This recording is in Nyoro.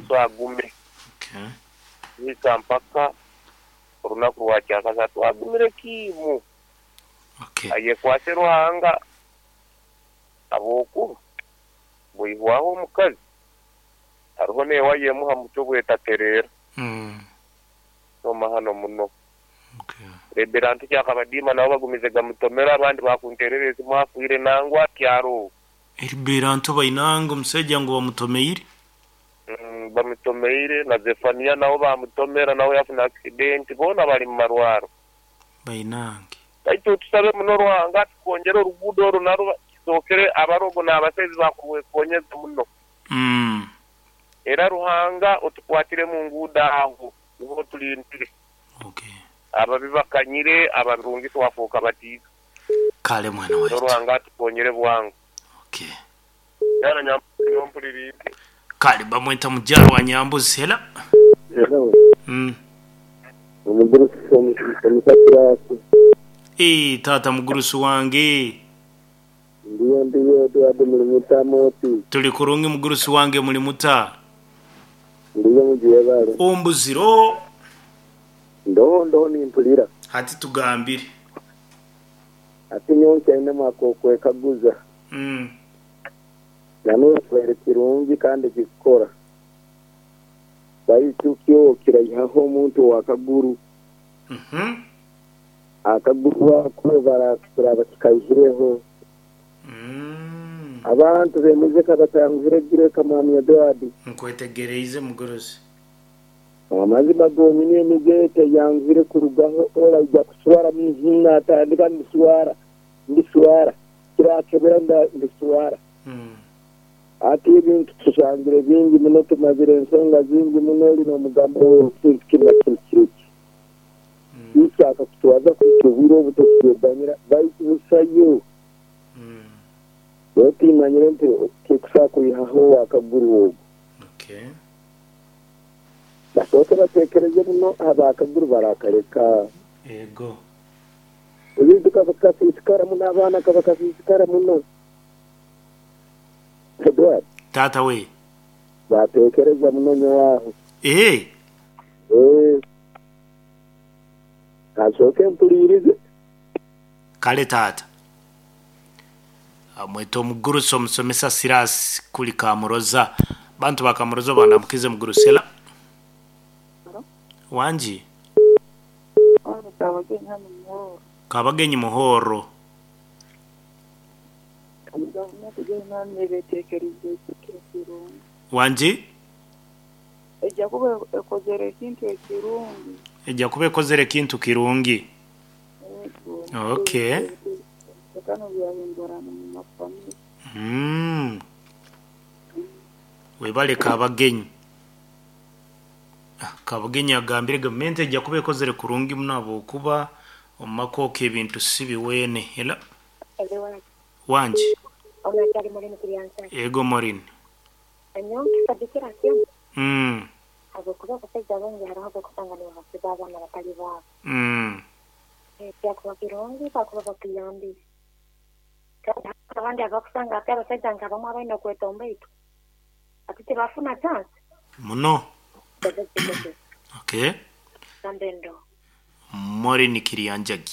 Yesu agume. Okay. Kuhika mpaka olunaku lwa kyakasatu agumire kiimu. Okay. Ayekwase Ruhanga habwokuba bwihwaho omukazi hariho n'ewaya emu ha mutwe bwetatereera. Soma hano muno. Okay. Rebera nti kyakabadiima nabo bagumize gamutomera abandi bakunterera esimu afiire nangwa akyaro. Eribeera nto bainanga omusajja ngu bamutomeire. Bamutomeire na Zefania nawe bamutomera nawe yafuna accident boona bali mu marwaro. Bainange. Baitu tusabe muno Ruhanga atukongere oruguudo orwo narwo kisookere abarogo n'abasaizi bakurwekonyeza muno. Era Ruhanga otukwatire mu nguudo aho niho tulindire. Okay. Ababi bakanyire abarungi twafuuka batiito. Kale mwana So waitu. Ruhanga atukonyere bwangu. Okay. Yana Nyambuzi niwe mpuliriire. Kale bamweta mugyaro wa Nyambuzi hela. Hello. Omugurusi omusakiraasi. Ee taata mugurusi wange. Ndiyo ndiyo Edward muli muta moti. Tuli kurungi mugurusi wange muli muta? Ndiyo mugyebale. Ombuziro. Ndoho ndoho nimpulira. Hati tugambire. Ati nyowe nkyainemu ak'okwekaguza. Nanoba kibaire kirungi kandi kikukora. Baitu kyo kiraihaho omuntu ow'akaguru. Akaguru ako kiraaba kikaihireho. Abantu b'emize kabatanguhire gireka Mwami Edward. Nkwetegereize mugurusi. Amazima gonyini emize teyanguhire kurugaho oraija kuswara natandika ndiswara ndiswara kirakebera ndiswara. Ati ebintu tusangire bingi muno tumazire ensonga zingi muno oli n'omugambo ekintu kinu na kinu kiri ki. Ishaka kutwaza kuhika obwire obu tokubyeganyira baitu busayo. Otimanyire nti kikusobola kwihaho ow'akaguru ogu. Okay. Basooke bateekereze muno ab'akaguru barakaleka. Ego. Ebintu kabakasiisikara muno abaana kabakasiisikara muno. Edward. Taata we. Bateekereza muno nyowe aho. Ee. Ee. Kasooke mpuliirize. Kale taata. Amweta omugurusi omusomesa Silas kuli Kamuroza. Bantu ba Kamuroza banamukize mugurusi ela. Wangi. Kabagenyi hano Muhoro. Kabagenyi Muhoro. Gavumenti yoona nebeteekerize ekintu ekirungi. Wangi? Ejja kuba ekozere ekintu ekirungi. Ejja kuba ekozere ekintu kirungi. Ego. Okay. Kano byahindurana mu mafamili. Webale Kabagenyi. Kabagenyi agambire gavumenti ejja kuba ekozere kurungi muno habwokuba omu makooko ebintu si biweene. Ela wangi. Ego Morin. Muno. Okay. Morin Kirianjagi.